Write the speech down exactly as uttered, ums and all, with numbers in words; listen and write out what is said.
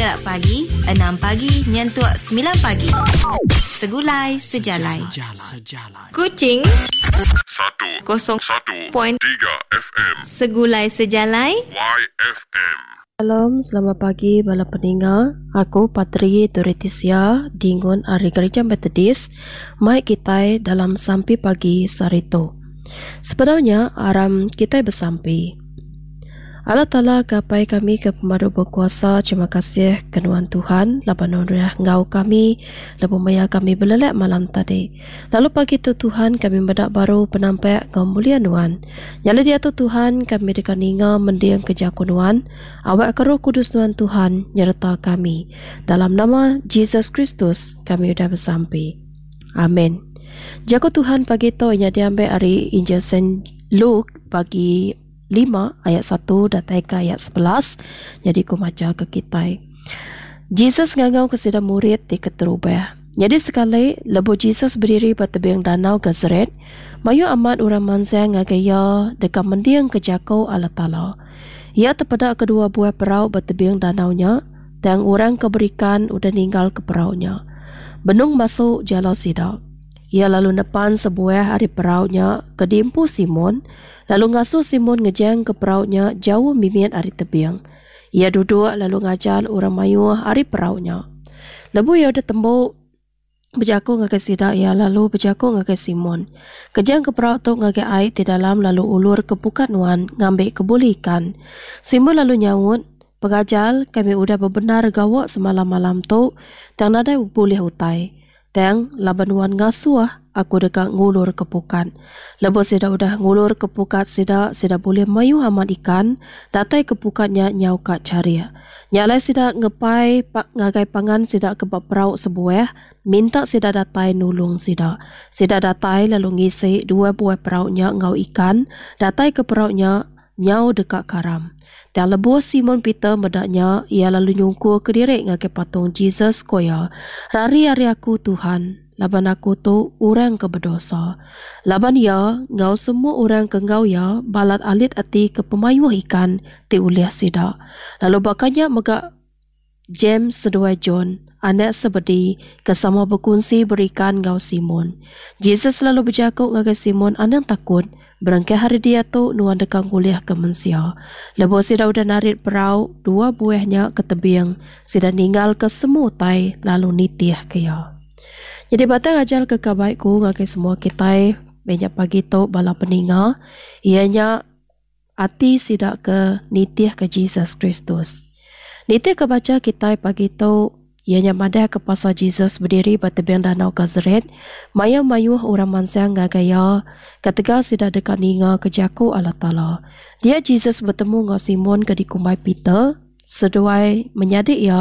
kena pagi enam pagi nyentuk semilan pagi. Segulai Sejalai. Kuching Satu kosong Satu point Tiga F M Segulai Sejalai Y F M. Shalom, selamat pagi bala peninga. Aku Patri Doretisia Dingun ari Gereja Methodist mai kitai dalam sampi pagi saritu. Sebedaunya aram kitai besampi. Allah Taala ke Apai kami ke pemadu bekuasa, terima kasih ke nuan Tuhan laban nuan udah enggau kami lebuh maya kami belelak malam tadi. Lalu pagi tu Tuhan kami meda baru penampak enggau mulia nuan. Nyadi diatu Tuhan kami deka ninga mending ke jaku nuan, awak ke Roh Kudus nuan Tuhan nyereta kami. Dalam nama Jesus Kristus kami udah besampi. Amin. Jaku Tuhan pagi tu nya diambil ari Injil Saint Luke bagi lima ayat satu datai ke ayat sebelas. Jadi ku maca ke kitai. Jesus ngangau ke sida murid ti keterubah. Jadi sekali lebuh Jesus berdiri ba tebing danau Gennesaret, mayuh amat orang mansang ngagai iya deka mending ke jaku Allah Taala. Iya tepeda kedua buah perau ba tebing danau nya, tang orang ke berikan udah ninggal ke perau nya. Benung masuk jala sida. Iya lalu nepan sebuah ari perau nya ke diempu Simon, lalu ngasuh Simon ngejang ke perau nya jauh mimit ari tebing. Iya duduk lalu ngajar orang mayuh ari perau nya. Lebuh iya udah tembu bejaku ngagai sida, iya lalu bejaku ngagai Simon, Kejang ke perau tu ngagai ai ti dalam lalu ulur ke pukat nuan ngambi ke bulih ikan. Simon lalu nyaut, Pengajar, kami udah bebenar gawa semalam-malam tu, tang nadai bulih utai. Tang laban nuan ngasuh, aku deka ngulur ke pukat. Lebuh sida udah ngulur ke pukat sida, sida bulih mayuh amat ikan, datai ke pukat nya nyau ka charik. Nya alai sida ngepai pa-, ngagai pangan sida ke ba perau sebuah, minta sida datai nulung sida. Sida datai lalu ngisi dua buah perau nya enggau ikan, datai ke perau nya nyau deka karam. Dan lebuh Simon Peter meda nya, ia lalu nyungkur ke diri ngagai patung Jesus ko iya, Rari ari aku Tuhan, laban aku tu orang ke berdosa. Laban ia enggau semua orang ke enggau ia balat alit ati ke pemayuh ikan ti ulih sida. Lalu bakanya mega James seduai John, anak Zebedee, ke sama berkongsi berikan enggau Simon. Jesus lalu berjaku ngagai Simon, Anang takut, berengkah hari dia tu nuan deka ngulih ke mensia. Lebuh sida udah narit perau, dua buahnya ke tebing, sida ninggal ke semua utai lalu nitih ke iya. Jadi batang ajar ke kabaikku ngagai semua kitai banyak pagi tu bala peninga, ianya ati sida ke nitih ke Jesus Kristus. Nitih ke baca kitai pagi tu, ianya madah ke pasal Jesus berdiri ba tebing danau Gennesaret, maya mayuh orang mansang ngagai iya, ketegal sida deka ninga ke jaku Allah Taala. Dia Jesus betemu enggau Simon ke dikumbai Peter, seduai menyadi iya